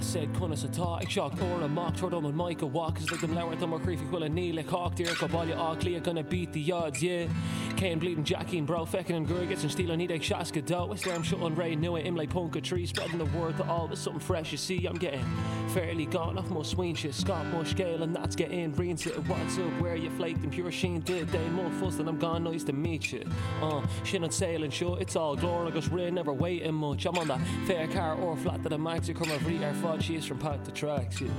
I said conas atá ag 7 uair amach tabhair dom an mic a mhac is lig dom labhairt do mo chroí faoi chuile ní le cách díreach go Baile Átha Cliath gonna beat the odds yeah Cén bleeding Jackín bro feiceann an gruaig is an stíl ó 1962 is deirim seo an ré nua Imlé ponc 3 spreading the word to all there's something fresh you see I'm getting fairly gone off mo smaointe scaip mo scéal and that's getting rinse what's up where you flaked and pure sheen did they mo fuss and I'm gone nice to meet you uh sin an saol anseo it's all glór agus rith never waiting much I'm on that fair car or flat to the max ag cur mo bhrí ar fad síos from pack to tracks yeah.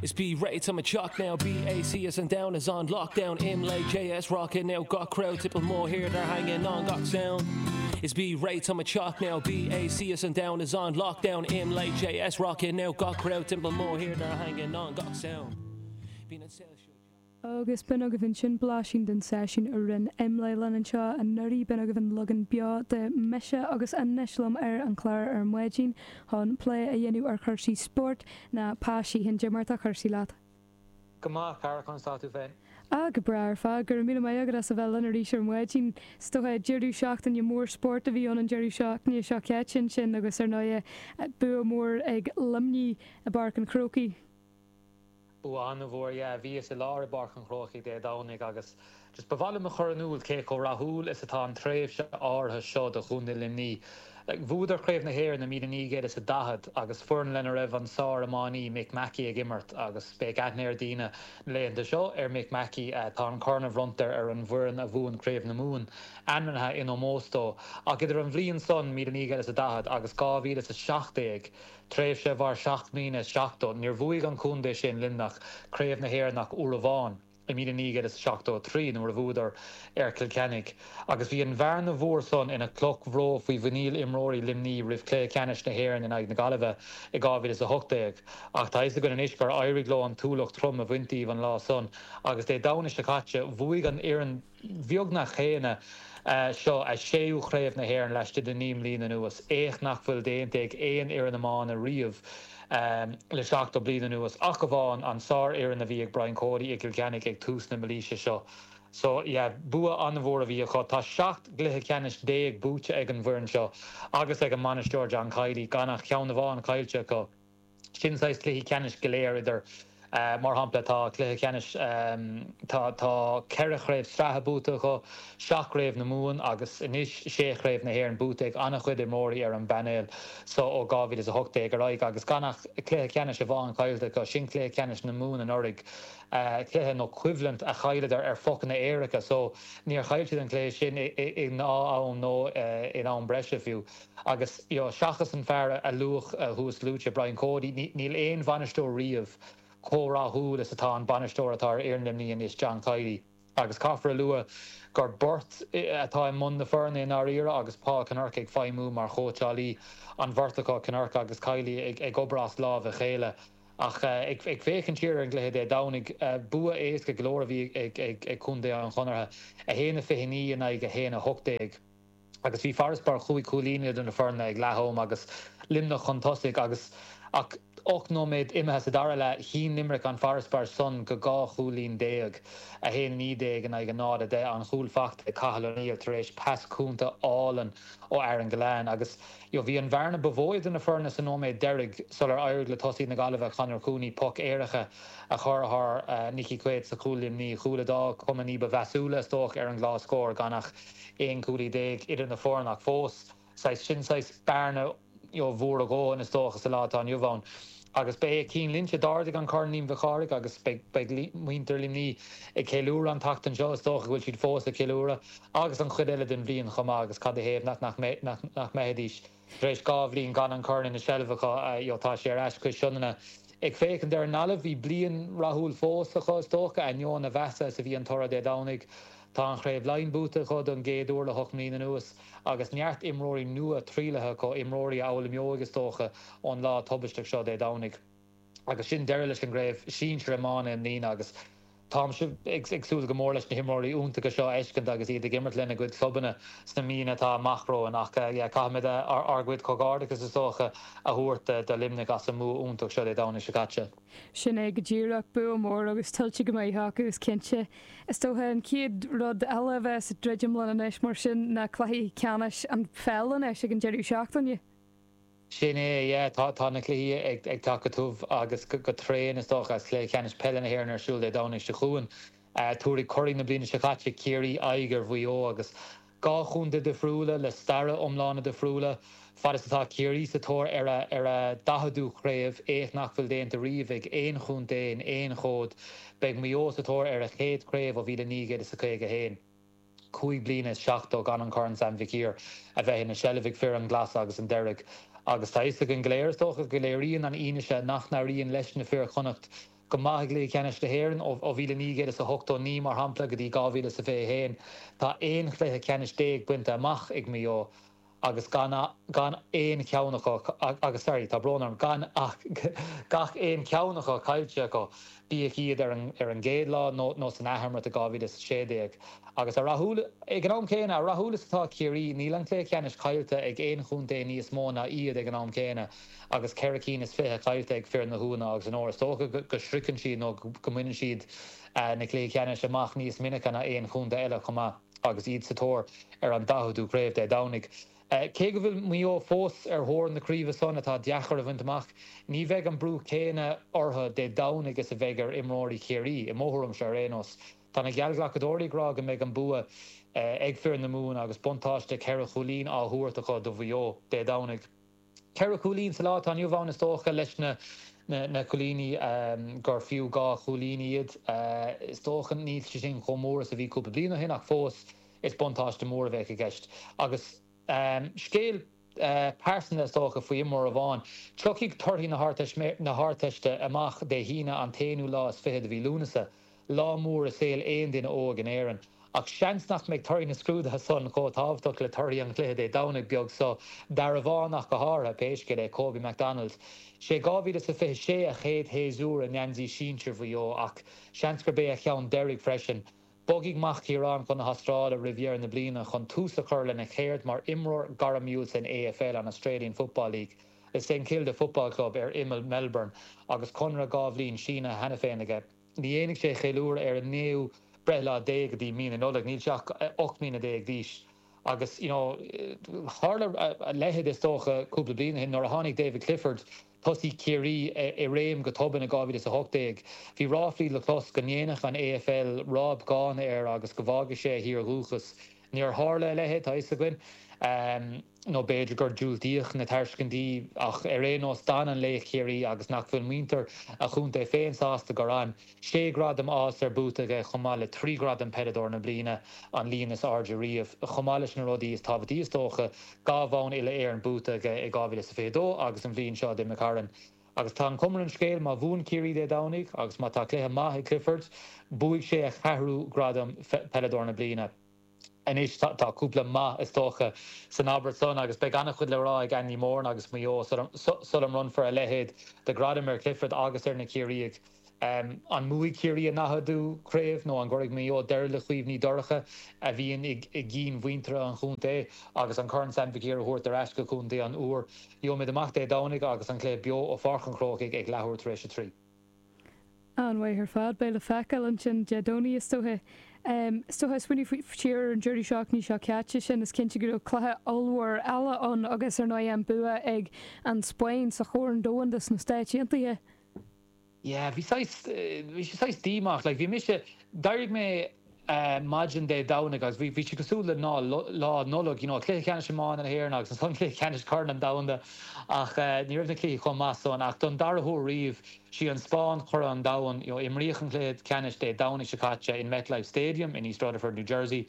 Is bí réidh tá mo teach now BAC is an domhan is on lockdown Imlé JS rockin' now gach crowd timpeall mo thír they're hanging on gach sound Is bí réidh tá mo teach now BAC is an domhan is on lockdown Imlé JS rockin' now gach crowd timpeall mo thír they're hanging on gach sound Bíonn an saol seo Agus b'in agaibh ansin blaisín den seisiún a rinne Imlé linn anseo anuraidh. B'in agaibh an leagan beo de 'Mise' agus anois liom ar an chlár ar maidin chun plé a dhéanamh ar chúrsaí spóirt ná Pa Sheehan. Cad é mar atá cúrsaí leat? Go maith, a chara, conas tá tú féin? Ah, go breá ar fad. Go raibh míle maith agat as a bheith linn arís ar maidin. Is dócha, deireadh seachtaine mór spóirt a bhí ann an deireadh seachtaine seo caite ansin agus ar ndóighe bua mór ag Luimnigh i bPáirc an Chrócaigh. Bua an-mhór, yeah. Bhíos i láthair i bPáirc an Chrócaigh Dé Domhnaigh agus just ba mhaith liom a chur in iúl cé chomh rathúil is atá an tréimhse áirithe seo do Chontae Luimnigh. Like, bhuadar Craobh na hÉireann i 1940 agus foireann lena raibh an sár-iománaí Mick Mackey ag imirt agus beidh aithne ar daoine na laethanta seo ar Mick Mackey. Tá an corn a bhronntar ar an bhfoireann a bhuann Craobh na Mumhan ainmnithe in ómós dó. Ach idir an bhliain san, 1940, agus 2017, tréimhse a mhair seacht mbliana is 70, níor bhuaigh an contae sin, Luimneach, Craobh na hÉireann ach uair amháin, i 1973 nuair a bhuadar ar Chill Chainnigh. Agus bhí an bhearna mhór san ina cloch bhró faoi mhuiníl imreoirí Luimnigh roimh chluiche ceannais na hÉireann in aghaidh na Gaillimhe i 2018. Ach tá fhios againn anois gur éirigh leo an t-ualach trom a bhaint díobh an lá san agus Dé Domhnaigh seo caite bhuaigh an fhoireann bheagnach chéanna seo a séú Chraobh na hÉireann laistigh de 9 mbliana anuas, éacht nach bhfuil déanta ag aon fhoireann iomána riamh le 70 bliain anuas, ach amháin an sárfhoireann a bhí ag Brian Cody i gCill Chainnigh ag tús na mílaoise seo. So, yeah, bua an-mhór a bhí acu. Tá 17 gcluiche ceannais buaite ag an bhfoireann seo agus ag an mbainisteoir John Kiely, gan ach ceann amháin caillte acu. Sin saghas cluichí ceannais go léir idir, mar shampla, tá cluiche ceannais, tá tá ceithre chraobh sraithe buaite acu, seacht gcraobh na Mumhan agus anois sé chraobh na hÉireann buaite ag an-chuid imreoirí ar an bpainéal so ó 2018 ar aghaidh agus gan ach cluiche ceannais amháin caillte acu, sin cluiche ceannais na Mumhan anuraidh, cluiche nó coimhlint a chailleadar ar phocanna éirice so níor chaill siad an cluiche sin i ngnáth-am nó in am breise fiú. Agus, you know, seachas an fear a luadh thuas luaite, Brian Cody, níl aon bhainisteoir riamh chomh rathúil is atá an bainisteoir atá ar fhoireann Luimnigh anois, John Kiely. Agus caithfear a lua gur beirt atá i mbun na foirne i ndáiríre agus Paul Kinnerk ag feidhmiú mar chóitseálaí, an bheirt acu, Kinnerk agus Kiely, ag obair as lámh a chéile. Ach ag féachaint siar ar an gcluiche Dé Domhnaigh, bua éasca go leor a bhí ag contae an Chonartha, 1-29 in aghaidh 1-18. agus bhí farasbarr chúig chúilín idir na foirne ag leath-am agus Luimneach chun tosaigh agus ach 8 nóiméad imithe sa dara leath, shín Limerick an farasbarr san go 12 chúilín, 1-19 in aghaidh 0-10, an chúl fachta ag Cathal O'Neill tar éis pas cúnta álainn ó Aaron Gillane agus you know bhí an bhearna ba mhó idir na foirne sa nóiméad deiridh sular éirigh le tosaí na Gaillimhe Conor Cooney poc éirice a chur thar Nicky Quaid sa chúl Luimnigh, cúl a d'fhág cuma ní ba mheasúla is dócha ar an gclár scóir gan ach 11 cúilín idir na foirne ach fós, saghas, sin saghas bearna you know mhór a dhóthain is dócha sa lá atá inniu ann. Agus ba é Cian Lynch a d'ardaigh an Corn Liam Mhic Cárthaigh agus beidh, beidh muintir Luimnigh ag ceiliúradh an tseachtain seo, is dócha go bhfuil siad fós ag ceiliúradh agus an chuid eile den bhliain chomh maith agus cad a thaobh nach, nach, nach, nach mbeidís. Tar éis 2 bhliain gan an corn ina seilbh acu, you know, tá sé ar ais cois Sionainne. Ag féachaint ar an nGaillimh, bhí bliain rathúil fós acu, is dócha, ainneoin a mheasa is a bhí an toradh Dé Domhnaigh. Tá an Chraobh Laighean buaite acu don gcéad uair le hocht mbliana anuas agus neart imreoirí nua trialaithe acu, imreoirí a fhoghlaimeoidh, is dócha, ón lá tubaisteach seo Dé Domhnaigh. Agus sin deireadh leis an gcraobh sinsir iomána i mbliana agus. Táimse ag súil go mór leis na himreoirí iontacha seo a fheiscint agus iad ag imirt lena gcuid clubanna sna míonna atá amach romhainn ach yeah caithfimid ár gcuid comhghairdeachas is dócha a thabhairt do Luimneach as an mbua iontach seo Dé Domhnaigh seo caite. Sin é go díreach, bua mór agus tuillte go maith acu is cinnte. Is dócha an chéad rud eile a bheas ag druidim linn anois mar sin ná cluichí ceannais an pheil anois ag an deireadh seachtaine. Sin é, yeah. Tá, tá na cluichí ag, ag teacht go tiubh agus go, go tréan is dócha agus Cluiche Ceannais Peile na hÉireann ar siúl Dé Domhnaigh seo chugainn. Tabharfaidh curaidh na bliana seo caite, Ciarraí, aghaidh ar Mhaigh Eo agus dhá chontae difriúla le stair iomlána difriúla. Fad is atá Ciarraí sa tóir ar a, ar a daicheadú craobh, éacht nach bhfuil déanta riamh ag aon chontae in aon chód, beidh Maigh Eo sa tóir ar a chéad chraobh ó 1951. 5 bliana is 70 gan an Corn Sam Mhic Uidhir a bheith ina seilbh ag fir an ghlas agus an deirg. Agus tá fhios againn go léir, is dócha, go léiríonn an fhianaise nach n-éiríonn leis na fir Chonnacht go maith i gcluichí ceannais na hÉireann, ó 1989, mar shampla, go dtí 2021, tá 11 chluiche ceannais bainte amach ag Maigh Eo. agus gan gan aon cheann acu agus sorry tá brón orm gan ach gach aon cheann acu caillte acu, bíodh iad ar an ar an gcéad lá nó nó san athimirt i 2016. Agus a rathúla ag an am céanna, a rathúla is atá Ciarraí, níl an cluiche ceannais caillte ag aon chontae níos mó ná iad ag an am céanna agus ceithre cinn is fiche caillte ag fir na hUaimhe agus an Óir. Is dócha go go sroicheann siad nó go mbaineann siad na cluichí ceannais amach níos minice ná aon chontae eile chomh maith. agus iad sa tóir ar an daicheadú craobh Dé Domhnaigh. Cé go bhfuil Maigh Eo fós ar thóir na craoibhe san, atá deacair a bhaint amach, ní bheidh an brú céanna orthu Dé Domhnaigh is a bheidh ar imreoirí Chiarraí, i mo thuairimse ar aon nós. Tá na geallghlacadóirí ag rá go mbeidh an bua ag fir na Mumhan agus buntáiste cheithre chúilín á thabhairt acu do Mhaigh Eo Dé Domhnaigh. Ceithre chúilín sa lá atá inniu ann is dócha, leis na na cúilíní gur fiú dhá chúilín iad. Is dócha níl sé sin chomh mór is a bhí cúpla bliain ó shin ach fós is buntáiste mór a bheadh i gceist. Agus scéal pearsanta is dócha faoi imreoir amháin. Tiocfaidh torthaí na hArdteiste amach Dé hAoine an t-aonú lá is fiche de mhí Lúnasa. Lá mór i saol aon duine óg in Éirinn. Ach seans nach mbeidh torthaí na scrúduithe san chomh tábhachtach le torthaí an chluiche Dé Domhnaigh beag so, d'fhear amháin ach go háirithe, pé scéal é, Kobe McDonald. Sé 2026 a chéad shéasúr i ngeansaí sinsir Mhaigh Eo ach seans gurb é a cheann deiridh freisin. Bogfaidh mac Chiaráin chun na hAstráile roimh dheireadh na bliana chun tús a chur lena cheird mar imreoir gairmiúil san AFL, an Australian Football League, le St Kilda Football Club ar imeall Melbourne agus conradh dhá bhliain sínithe cheana féin aige. Ní dhéanfaidh sé ceiliúradh ar a naoú breithlá Dé go dtí mí na Nollag, níl sé ach 18 mbliana d'aois. Agus, you know, tharla a leithéid is dócha cúpla bliain ó shin nuair a tháinig David Clifford, tosaí Chiarraí, i réim go tobann i 2018. Bhí ráflaí le clos go ndéanfadh an AFL ráib dhána air agus go bhfágfadh sé a thír dhúchais. Níor tharla a leithéid, tá fhios againn. Nó b'fhéidir gur diúltaíodh na tairiscintí, ach ar aon nós d'fhan an laoch Chiarraí agus nach bhfuil muintir a chontae féin sásta gur fhan. Sé ghradam All-Star buaite aige chomh maith le trí ghradam Peileadóir na Bliana, an líon is airde riamh. Chomh maith leis na rudaí is tábhachtaí is dócha, dhá bhonn Uile-Éireann buaite aige i 2022 agus an bhliain seo a d'imigh tharainn. Agus tá an chuma ar an scéal, má bhuann Ciarraí Dé Domhnaigh agus má tá cluiche maith ag Clifford, buafaidh sé a cheathrú gradam Peileadóir na Bliana. Anois tá cúpla 'má' is dócha san abairt san agus beidh an-chuid le rá ag Andy Moran agus Maigh Eo sula mbronnfar a leithéid de ghradam ar Clifford agus ar na Ciarraígh. An mbuafaidh Ciarraí a ndaicheadú craobh nó an gcuirfidh Maigh Eo deireadh le cuimhní dorcha a bhíonn i gcinn mhuintir an chontae agus an Corn Sam Mhic Uidhir a thabhairt ar ais go Contae an Iúir? Gheobhaimid amach Dé Domhnaigh agus an cluiche beo ó Pháirc an Chrócaigh ag leathuair tar éis a trí. An-mhaith ar fad. Beidh le feiceáil ansin Dé Domhnaigh is dócha. Is dócha, smaoineamh siar ar an deireadh seachtaine seo caite sin, is cinnte go raibh cluiche ollmhór eile ann agus ar ndóigh an bua ag an Spáinn sa Chorn Domhanda sna Stáit Aontaithe. Yeah, bhí saghas, bhí sé saghas díomách, like bhí mise, d'éirigh mé maidin Dé Domhnaigh agus bhí, bhí sé cosúil le ná, lá Nollag, you know, cluiche ceannais iomána na hÉireann agus ansan cluiche ceannais Chorn an Domhanda ach ní raibh na cluichí chomh maith san ach don dara huair riamh, sí an Spáinn curaidh an domhain, you know, imríodh an cluiche ceannais Dé Domhnaigh seo caite in MetLife Stadium in East Rutherford, New Jersey,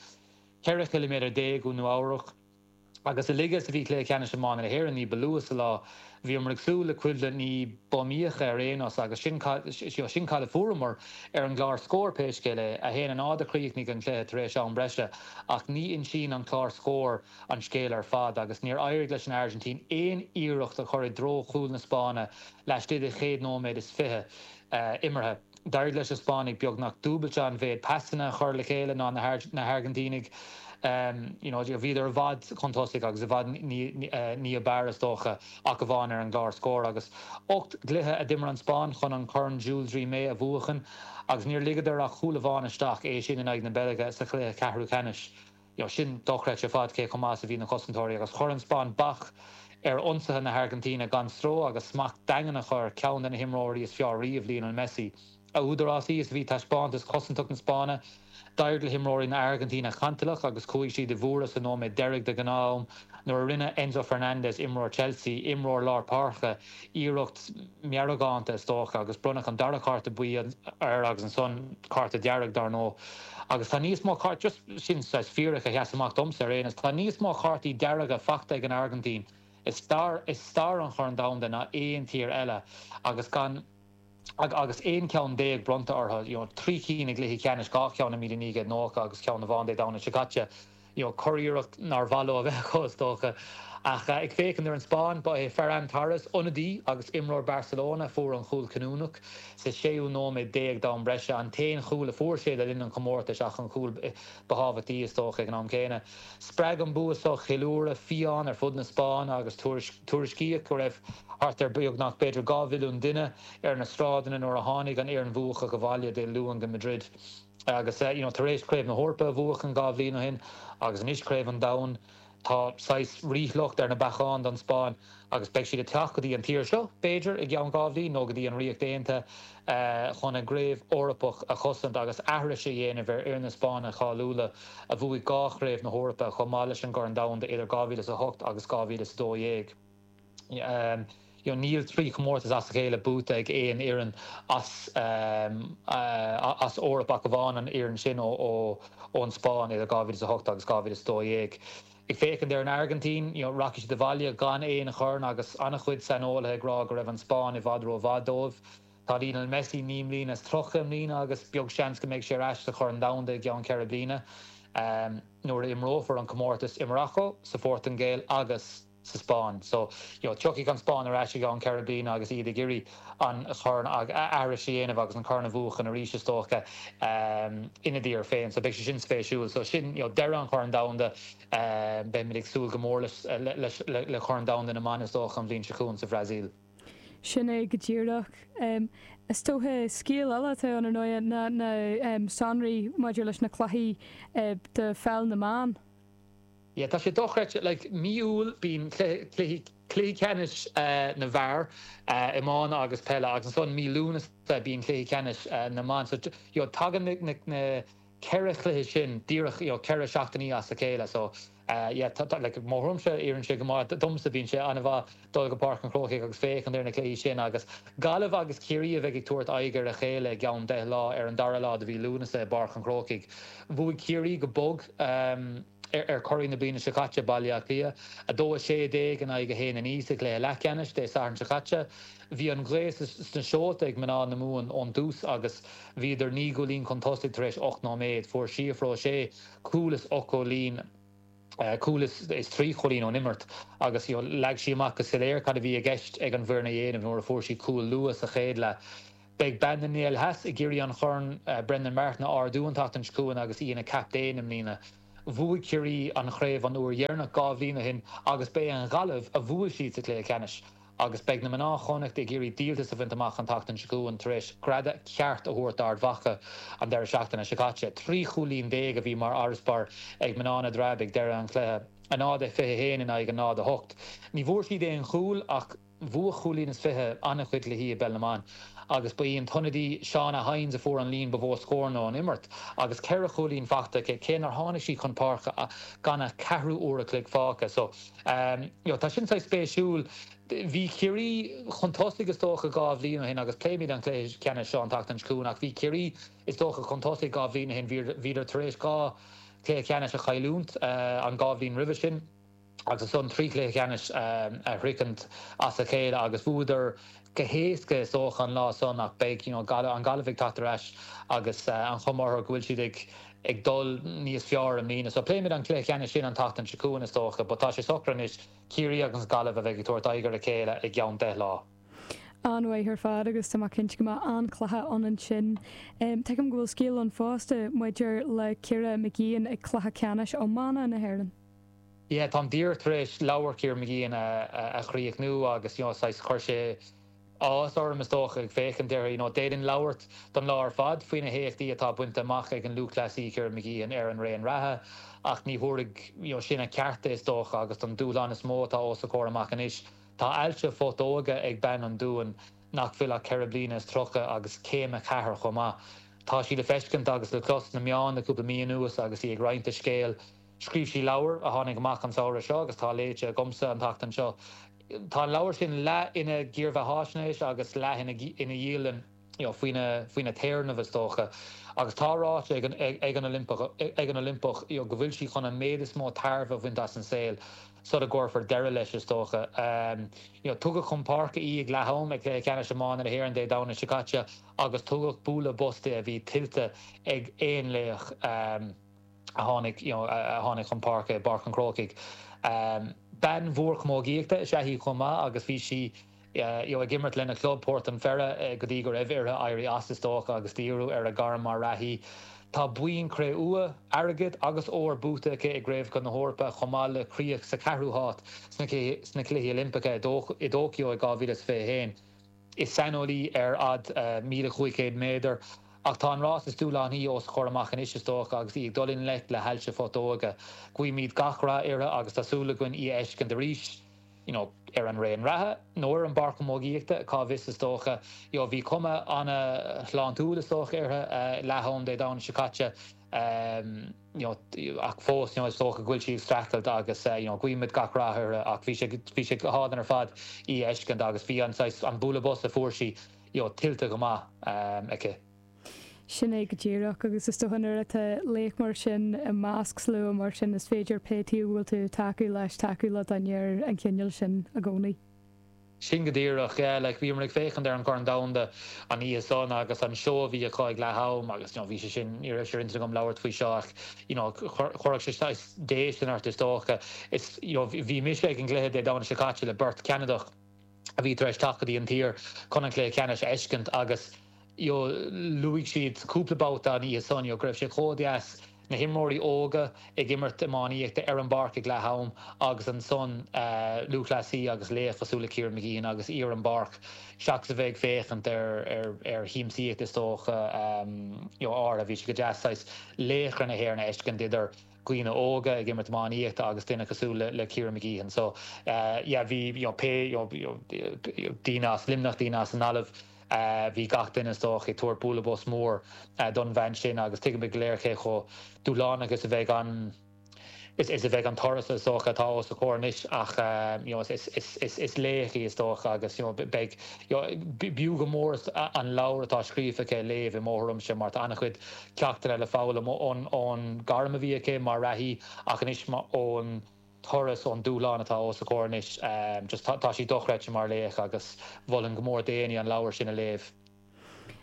14 chiliméadar ó Nua Eabhrac. Agus a laige is a bhí cluiche ceannais iomána na hÉireann ní ba luaithe sa lá, bhíomar ag súil le coimhlint ní b'iomaíocha ar aon nós agus sin sin cad a fuaireamar ar an gclár scóir pé scéal é. 1-0 a chríochnaigh an cluiche tar éis am breise ach ní insíonn an clár scóir an scéal ar fad agus níor éirigh leis an Airgintín aon iarracht a chur i dtreo chúl na Spáinne laistigh de chéad nóiméad is fiche imeartha. D'éirigh leis na Spáinnigh beagnach dúbailte an mhéid pasanna a chur le chéile ná na hAirgintínigh. You know, bhíodar i bhfad chun tosaigh agus i bhfad ní ab fhearr is dócha ach amháin ar an gclár scóir. Agus 8 gcluiche a d'imir an Spáinn chun an Corn Jules Rimet a bhuachan agus níor ligeadar ach cúl amháin isteach, é sin in aghaidh na Beilge sa chluiche ceathrú ceannais. You know, sin dochreidte ar fad cé chomh maith is a bhí na cosantóirí agus chuir an Spáinn bac ar ionsaithe na hAirgintíne gan stró agus smacht daingean acu ar cheann de na himreoirí is fearr riamh, Lionel Messi. A údarásaí is a bhí taispeántas cosantach na Spáinne, d'éirigh le himreoirí na hAirgintíne cantalach agus chuaigh siad i bhfuaire sa nóiméad deiridh de ghnáth-am nuair a rinne Enzo Fernandez, imreoir Chelsea, imreoir lár páirce, iarracht meargánta is dócha agus bronnadh an dara cárta buí air agus ansan cárta dearg dar ndóigh. Agus tá níos mó cártaí, just sin saghas fíric a sheas amach domsa ar aon nós, tá níos mó cártaí dearga fachta ag an Airgintín i stair i stair an Chorn Domhanda ná aon tír eile agus gan agus 11 ceann bronnta orthu, you know, 3 cinn i gcluichí ceannais, 2 cheann i 1990 agus ceann amháin Dé Domhnaigh seo caite. You know, curiarracht nár mhaith leo a bheith acu, is dócha. Ach ag féachaint ar an Spáinn, ba é Ferran Torres, ionadaí agus imreoir Barcelona, a fuair an chúl cinniúnach sa séú nóiméad déag d'am breise, an t-aon chúl a fuair sé le linn an chomórtais ach an cúl ba thábhachtaí, is dócha, ag an am céanna. Spreag an bua seo ceiliúradh fiáin ar fud na Spáinne agus tuairiscíodh go raibh thart ar beagnach b'fhéidir 2 mhilliún duine ar na sráideanna nuair a tháinig an fhoireann bhuacach abhaile Dé Luain go Madrid. Agus you know tar éis Craobh na hEorpa a bhuachan 2 bhliain ó shin agus anois Craobh an Domhain, tá saghas ríshliocht ar na bacáin don Spáinn agus beidh siad ag teacht go dtí an tír seo, b'fhéidir, i gceann 2 bhliain nó go dtí an Ríocht Aontaithe chun a gcraobh Eorpach a chosaint agus aithris a dhéanamh ar fhir na Spáinne cáiliúla a bhuaigh 2 Chraobh na hEorpa chomh maith leis an gCorn Domhanda idir 2008 agus 2012. You know, níl 3 chomórtas as a chéile buaite ag aon fhoireann as as Eoraip ach amháin an fhoireann sin ón Spáinn idir 2008 agus 2012. Ag féachaint ar an Airgintín, you know, rachaidh siad abhaile gan aon chorn agus an-chuid saineolaithe ag rá go raibh an Spáinn i bhfad rómhaith dóibh. Tá Lionel Messi 39 mbliana i mbliana agus beag seans go mbeidh sé ar ais sa Chorn Domhanda i gceann 4 bliana nuair a imreofar an comórtas i Morocco, sa Phortaingéil agus sa Spáinn. So, you know, tiocfaidh an Spáinn ar ais i gceann 4 bliana agus iad ag iarraidh an chorn aithris a dhéanamh agus an corn a bhuachan arís is dócha ina dtír féin. So beidh sé sin spéisiúil. So sin, you know, deireadh an Chorn Domhanda. Beimid ag súil go mór leis le Corn Domhanda na mBan is dócha an bhliain seo chugainn sa Bhrasaíl. Sin é go díreach. Is dócha scéal eile atá ann ar ndóigh ná na sonraí maidir leis na cluichí do pheil na mban. Yeah, tá sé dochreidte, like, mí Iúil bíonn cluichí, cluichí ceannais na bhfear, iomána agus peile agus ansan mí Lúnasa bíonn cluichí ceannais na mban. So, you know, tagann na, na, na ceithre chluiche sin díreach, you know, ceithre seachtainí as a chéile. So, yeah, tá, tá, like, mo thuairimse, oireann sé go maith, domsa bíonn sé an-mhaith dul go Páirc an Chrócaigh agus féachaint ar na cluichí sin agus Gaillimh agus Ciarraí a bheidh ag tabhairt aghaidh ar a chéile i gceann 10 lá ar an dara lá de mhí Lúnasa i bPáirc an Chrócaigh. Bhuaigh Ciarraí go bog ar curaidh na bliana seo caite, Baile Átha Cliath, 2 16 in aghaidh 1 9 sa chluiche leathcheannais Dé Sathairn seo caite. Bhí an ghaoth sna seolta ag mná na Mumhan ón dtús agus bhíodar 9 gcúilín chun tosaigh tar éis 8 nóiméad. Fuair Síofra O'Shea cúl is 8 gcúilín. cúl is 3 chúilín ón imirt agus leag sí amach go soiléir cad a bhí i gceist ag an bhfoireann a dhéanamh nuair a fuair sí cúl luath sa chéad leath. Beidh bean na nGael Theas ag iarraidh an chorn Brendan Martin a ardú an tseachtain seo chugainn agus í ina captaen i mbliana. Bhuaigh Ciarraí an chraobh an uair dheireanach 2 bhliain ó shin agus b'é an Ghaillimh a bhuail siad sa chluiche ceannais. Agus beidh na mná Chonnacht ag iarraidh díoltas a bhaint amach an tseachtain seo chugainn tar éis greadadh ceart a thabhairt d'Ard Mhacha an deireadh seachtaine seo caite. 13 chúilín a bhí mar fharasbarr ag mná na dTreabh ag deireadh an chluiche, 0-21 in aghaidh 0-8. Ní bhfuair siad aon chúl ach bhuaigh chúilín is fiche an-chuid cluichí i bPeil na mBan agus ba í an t-ionadaí Shauna Hynes a fuair an líon ba mhó scóranna ón imirt agus ceithre chúilín fachta aici cé nár tháinig sí chun páirce gan ach ceathrú uair a chloig fágtha. So. You know, tá sin saghas spéisiúil. Bhí Ciarraí chun tosaigh is dócha 2 bhliain ó shin agus pléimid an cluiche ceannais seo an tseachtain seo chugainn ach bhí Ciarraí is dócha chun tosaigh 2 bhliain ó shin. Bhíodar tar éis 2 chluiche ceannais a chailliúint an 2 bhliain roimhe sin agus ansan 3 chluiche ceannais a shroichint as a chéile agus bhuadar go héasca is dócha an lá san ach beidh you know an Ghaillimh ag teacht ar ais agus an chuma orthu go bhfuil siad ag ag dul níos fearr i mbliana. So pléimid an cluiche ceannais sin an tseachtain seo chugainn is dócha but tá sé socraithe anois, Ciarraí agus Gaillimh a bheidh ag tabhairt aghaidh ar a chéile i gceann 10 lá. An-mhaith ar fad agus tá mé cinnte go mbeidh an-chluiche ann ansin. Tuigim go bhfuil scéal ann fosta maidir le Ciara Mageean ag Cluiche Ceannais Iomána na hÉireann. Yeah, táim díreach tar éis leabhar Ciara Mageean a chríochnú agus you know saghas chuir sé áthas orm is dócha ag féachaint uirthi. You know d'fhéadfainn labhairt don lá ar fad faoi na héachtaí atá bainte amach ag an lúthchleasaí Ciara Mageean ar an raon reatha ach ní thabharfaidh you know sin a ceart di is dócha agus don dúshlán is mó atá os a comhair amach anois. Tá ailse phutóige ag bean an Dúin nach bhfuil ach 34 bliana agus céim 4 chomh maith. Tá sí le feiscint agus le clos sna meáin le cúpla mí anuas agus í ag roinnt a scéil. Scríobh sí leabhar a tháinig amach an samhradh seo agus tá léite agamsa an tseachtain seo. Tá an leabhar sin leath ina dhírbheatháisnéis agus leath ina dhialann faoina faoina téarnamh is dócha. Agus tá ráite ag an ag an Oilimpeach ag an Oilimpeach go bhfuil sí chun an méid is mó tairbhe a bhaint as an saol sula gcuirfear deireadh leis is dócha. Tugadh chun páirce í ag leath am ag Cluiche Ceannais Iomána na hÉireann Dé Domhnaigh seo caite agus tugadh bualadh bos di a bhí tuillte ag aon laoch. a tháinig you know a tháinig chun páirce i bPáirc an Chrócaigh. Bean mhór camógaíochta is ea í chomh maith agus bhí sí you know ag imirt lena club Port an Pheire go dtí go raibh uirthi éirí as is dócha agus díriú ar a gairm mar reathaí. Tá boinn cré-umha, airgid agus óir buaite aici i gCraobhacha na hEorpa chomh maith le críoch sa cheathrú háit sna sna Cluichí Oilimpeacha i dTóiceo i 2021. Is saineolaí ar fhad 1,500 méadar, ach tá an rás is dúshlánaí os a comhair amach anois is dócha agus í ag dul i ngleic le hailse phutóige. Guímid gach rath uirthi agus tá súil againn í a fheiscint arís, you know, ar an raon reatha nó ar an bpáirc chamógaíochta, cá bhfios is dócha. You know, bhí cuma ana-shláintiúil is dócha uirthi leath am Dé Domhnaigh seo caite. you know ach fós you know is dócha go bhfuil sí ag streachailt agus you know guímid gach rath uirthi ach bhí sé bhí sé go hálainn ar fad í a fheiscint agus bhí an saghas an bualadh bos a fuair sí you know tuillte go maith aici. Sin é go díreach agus is dócha nuair atá laoch mar sin i measc slua mar sin is féidir pé taobh a bhfuil tú ag tacú leis tacú le duine ar an chineál sin i gcónaí. Sin go díreach, yeah, like bhíomar ag féachaint ar an Chorn Domhanda an oíche san agus an seó a bhí acu ag leath am agus you know bhí sé sin, ní raibh sé ar intinn agam labhairt faoi seo ach you know chuirfeadh sé saghas déistin ort is dócha. Is you know bhí mise ag an gcluiche Dé Domhnaigh seo caite le beirt Cheanadach a bhí tar éis teacht go dtí an tír chun an cluiche ceannais a fheiscint agus you know luaigh siad cúpla babhta an oíche san you know go raibh sé chomh deas na himreoirí óga ag imirt iománaíochta ar an bpáirc ag leath am agus ansan lúthchleasaí agus laoch cosúil le Ciara Mageean agus í ar an bpáirc seachas a bheith ag féachaint ar ar shiamsaíocht is dócha you know áirithe. Bhí sé go deas saghas laochra na hÉireann a fheiscint idir dhaoine óga ag imirt iománaíochta agus duine cosúil le le Ciara Mageean. So yeah bhí you know pé you know daoine as Luimneach, daoine as an nGaillimh, Bhí gach duine is dócha ag tabhairt bualadh bos mór don bhean sin agus tuigimid go léir cé chomh dúshlánach is a bheidh an is a bheidh an turas is dócha atá os a comhair anois ach you know is is is laoch í is dócha agus you know beidh you know b'fhiú go mór an leabhar atá scríofa aici a léamh i mo thuairimse mar tá an-chuid ceachtanna le foghlaim ón ón gairm a bhí aici mar reathaí ach anois ón turas, ón dúshlán atá os a comhair anois. Just tá sí dochreidte mar laoch agus mholfainn go mór d'éinne an leabhar sin a léamh.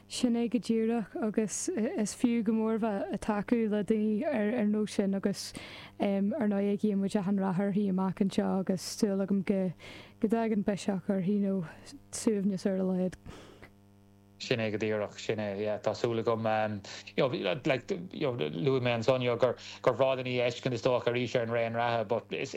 Sin é go díreach agus is fiú go mór bheith ag tacú le daoine ar nós sin agus ar ndóigh guíonn muid achan rath uirthi amach anseo agus súil agam go go dtagann biseach uirthi nó suaimhneas ar a laghad. Sin é go díreach, sin é, yeah, tá súil agam, you know, like, you know, luaigh mé ansan, you know, gur gur bhreá linn í a fheiscint is dócha arís ar an raon reatha, but is,